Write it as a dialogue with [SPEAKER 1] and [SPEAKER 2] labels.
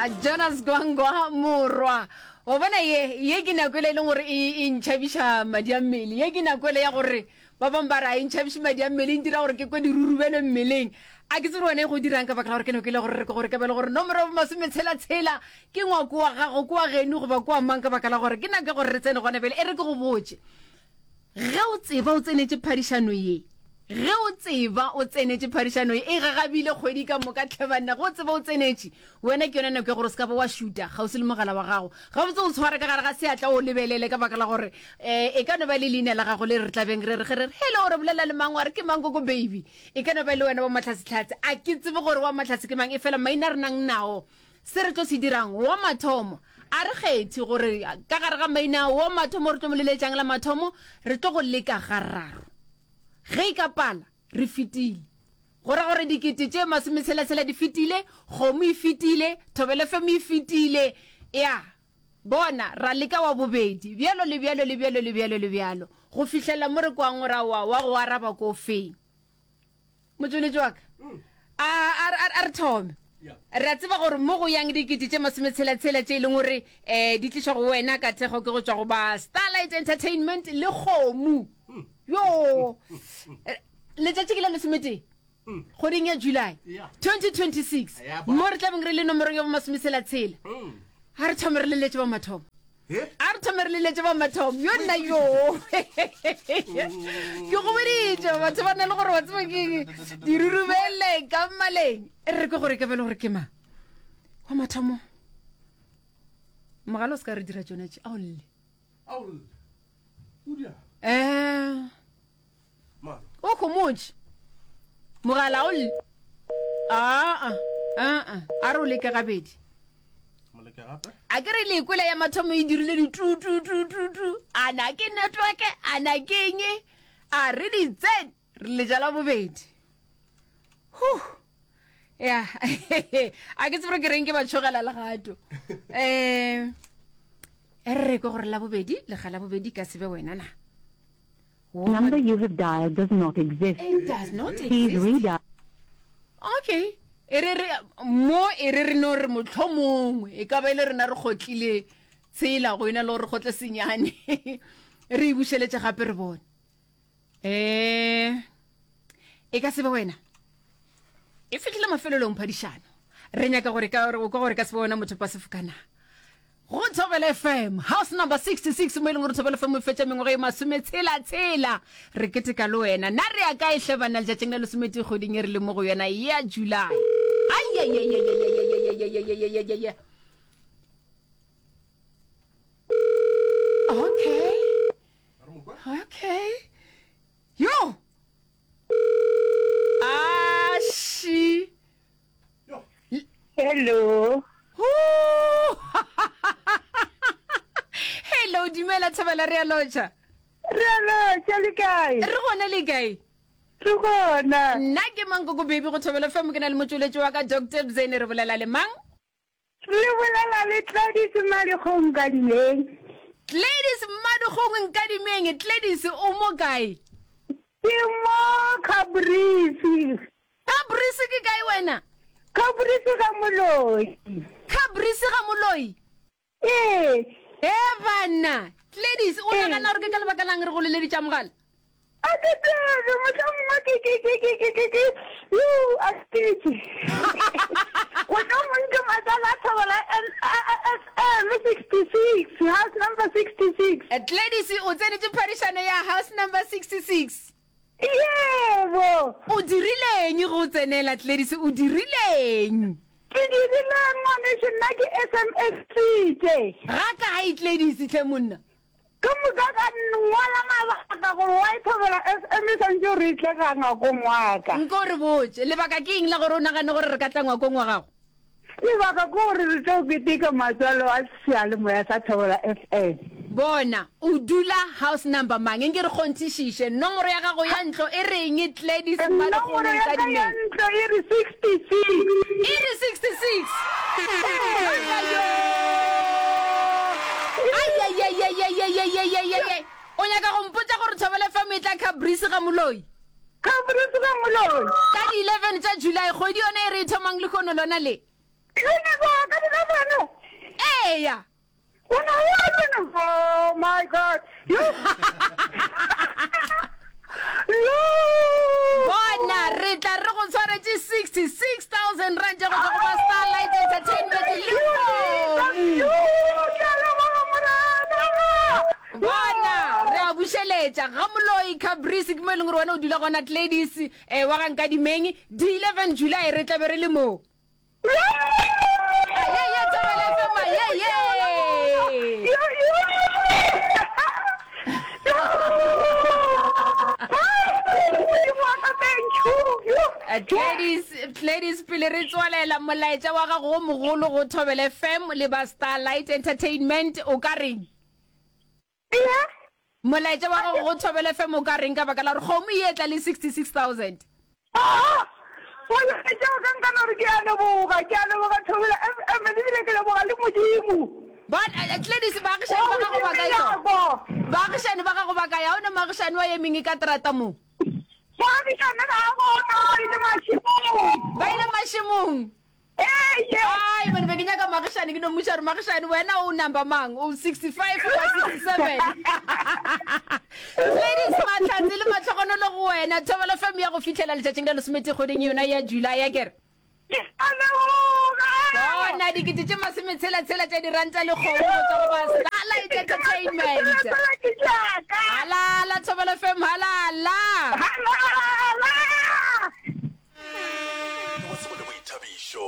[SPEAKER 1] Jonas Gwangwa morwa wa bona ye ye ke nako ele e leng gore e e ntšhabiša madi a mmele ye ke nako ele ya gore ba bangwe ba re a e ntšhabiše madi a mmele e ntira gore ke kwe dirurubele mmeleng a ke tsebe wena e go dirang ka baka la gore ke nako ele gore re ke gore ka bele gore nomoro ya bomasometshela-tshela ke ngwako wa gago ke wa geno goba ke wa mang ka baka la gore ke nako ya gore re tsene gona bjale e re ke go botše Ge o tseba o tsenetše phadišano ye, ge o tseba o tsenetše phadišano ye, e gagabile kgwedi ka moka tlhe banna, ge o tseba o tsenetše, wena ke yona nako ya gore o se ka ba wa šuta kgauswi le mogala wa gago. Gabotse o tshware ka gare ga seatla o lebelele ka baka la gore um e ka no ba le leina la gago le re tlabeng re re ge re re hello re bolela le mang wa re ke mang koko baby e ka no ba le wena wa Mahlatsetlhatse. A ke tsebe gore wa Mahlatse ke mang efela maina a re nang nao Se re tlo se dirang, wa mathomo, a re kgethe gore ka gare ga maina ao, wa mathomo re tlo mo leletšang la mathomo, re tlo go leka gararo. Ge e ka pala, re fetile. Go ra gore dikete tše masometshela-tshela di fetile, kgomo e fetile, Thobela FM e fetile. Ya, bona, ra leka wa bobedi, bjalo le bjalo le bjalo le bjalo le bjalo, go fihlela mo re kwang gore aowa, wa go araba ko feng. Motšweletši wa ka, a, a, a, a re thome. Re a tseba gore mo go yang dikete tše masometshela-tshela tše e leng gore um di tlišwa go wena ka thekgo ke go tšwa go ba Starlight Entertainment le kgomo. Yo! Letšatši ke la lesometee kgweding ya July 2026 mo re tla beng re le nomorong ya bomasometshela-tshela. A re thome re leletše ba mathomo. A re thome re leletše ba mathomo. Yo nna yo. Ke go boditše batho ba na le gore wa tseba ke dirurubele ka mmaleng. E re ke gore ke bele gore ke mang. Wa mathomo. Mogala o se ka re dira tšona tše. A o lle.
[SPEAKER 2] A o lle. O dia.
[SPEAKER 1] Eh. O khomotše. Mogala o lle. Aa, aa, a re o leke gabedi. A ke re le kwele ya mathomo e dirile di tu tu tu tu tu. A na ke network, a na ke eng? A re di tsen, re letša la bobedi. Huh. Ya. A ke tsebe gore ke reng ke ba tšhogela legato. Eh, e re ke gore la bobedi, lega la bobedi ka se be wena na.
[SPEAKER 3] Number you have dialed does not exist.
[SPEAKER 1] It does not
[SPEAKER 3] Please
[SPEAKER 1] exist.
[SPEAKER 3] redial.
[SPEAKER 1] Okay. E re re mo e re re no re mohlomongwe e ka ba e le rena re kgotlile tshela go ena le gore re kgotle senyane re e bušeletše gape re bone um e ka se be wena e fihlile mafelelong phadišano re nyaka gore ka o ka gore ka se be wena motho pa sefokana Go Thobela FM, house number 66, mo e leng gore Thobela FM e fetša mengwaga e masometshela-tshela. Re keteka le wena. Na re ya kae hle banna letšatšing la lesometee kgweding e re leng mo go yona ya July? Ai-ai-ai-ai-ai-ai-ai-ai-ai-ai-ai-ai-ai. Okay. Okay. Yo! Ashi!
[SPEAKER 4] Hello.
[SPEAKER 1] Hello, dumela Thabela re a lotšha.
[SPEAKER 4] Re a lotšha le kae?
[SPEAKER 1] Re gona le kae?
[SPEAKER 4] Re gona.
[SPEAKER 1] Nna ke mang koko baby go Thobela FM ke na le motšweletši wa ka Dr. Bzene re bolela le mang?
[SPEAKER 4] Le bolela le Gladys Mmadikgong Nkadimeng.
[SPEAKER 1] Gladys Mmadikgong Nkadimeng, Gladys o mo kae?
[SPEAKER 4] Ke mo Cabrisi.
[SPEAKER 1] Cabrisi ke kae wena?
[SPEAKER 4] Cabrisi ga Moloi.
[SPEAKER 1] Cabrisi ga Moloi?
[SPEAKER 4] Ee.
[SPEAKER 1] He banna, Gladys, o nagana gore ke ka lebaka lang re go leleditša mogala?
[SPEAKER 4] A ke tsebe, mohlomongwe ke, ke, ke, ke, ke, ke, ke, yo, a ke tse. Mohlomongwe ke matswalo a Thobela FM 66, house number 66.
[SPEAKER 1] Gladys, o tsenetše phadišano ya house number 66?
[SPEAKER 4] Yebo.
[SPEAKER 1] O dirileng ge o tsenela, Gladys? O dirileng?
[SPEAKER 4] Ke dirileng, ngwanešu? Nna ke SMS-itše.
[SPEAKER 1] Ga kae, Gladys, hle monna?
[SPEAKER 4] Ke moka ka ngwala mabaka gore why Thobela FM e swantše gore e tle ga ngwakong wa ka.
[SPEAKER 1] Nko re botše, lebaka ke eng la gore o nagane gore re ka tla ngwakong wa gago?
[SPEAKER 4] Lebaka ke gore re tlo keteka matswalo a seyalemoya sa Thobela FM.
[SPEAKER 1] Bona, o dula house number mang? Nke re kgonthišiše. Nomoro ya gago ya ntlo e reng, Gladys
[SPEAKER 4] Mmadikgong
[SPEAKER 1] Nomoro
[SPEAKER 4] ya ka ya
[SPEAKER 1] Nkadimeng?
[SPEAKER 4] ntlo e re 66.
[SPEAKER 1] E re 66. Ai-ai-ai-ai-ai-ai-ai-ai-ai-ai-ai. O nyaka go mpotša gore Thobela FM e tla Caprice ga Moloi?
[SPEAKER 4] Caprice ga Moloi.
[SPEAKER 1] Ka di 11 tša July, kgwedi yona e re e thomang lehono lona le.
[SPEAKER 4] Uniform ka di-eleven?
[SPEAKER 1] Eya.
[SPEAKER 4] O na wa tsena? Oh my God. Yo. Yo.
[SPEAKER 1] Bona, re tla re go tshwaretše 66,000 rand tša go tšwa go ba Starlight Entertainment lehono.
[SPEAKER 4] Yo, ke a leboga Morena.
[SPEAKER 1] Bona, re a bušeletša ga Moloi Cabrice ke mo e leng gore wena o dula gona Gladys eh, wa ga Nkadimeng. Di 11 July re tla be re le mo. Ye ye Thobela FM ye ye. Gladys, Gladys pele re tswalela molaetša wa gago o mogolo go Thobela FM le ba Starlight Entertainment o ka reng? Molaetša wa gago go Thobela FM o ka reng ka baka la gore kgomo e etla le 66,000?
[SPEAKER 4] Aa! Molaetša wa ka nka no re ke a leboga, ke a leboga Thobela FM ebile ke leboga le Modimo.
[SPEAKER 1] Bona, Gladys, baagišani ba gago ba kae? Baagišani ba gago ba kae? Ga o na moagišani wa ye mengwe ka terata mo?
[SPEAKER 4] Moagišani ga a gona, ba ile mašemong.
[SPEAKER 1] Ba ile mašemong?
[SPEAKER 4] Eye.
[SPEAKER 1] Ai man be ke nyaka magišane ke no mmuša gore magišane wena o number mang o 65 goba 67 Ladies mahlatse le matlhogonolo go wena Thobela FM ya go fihlela letšatšing la lesometee kgweding yona ya July ya kere
[SPEAKER 4] Ke a leboga.
[SPEAKER 1] Bona dikete tše masometshela-tshela tša diranta le kgomo go tšwa go ba Starlight Entertainment.
[SPEAKER 4] Tsela ke tšaka.
[SPEAKER 1] Halala Thobela FM halala.
[SPEAKER 4] Halala.
[SPEAKER 5] Ke go tsebo le boithabišo.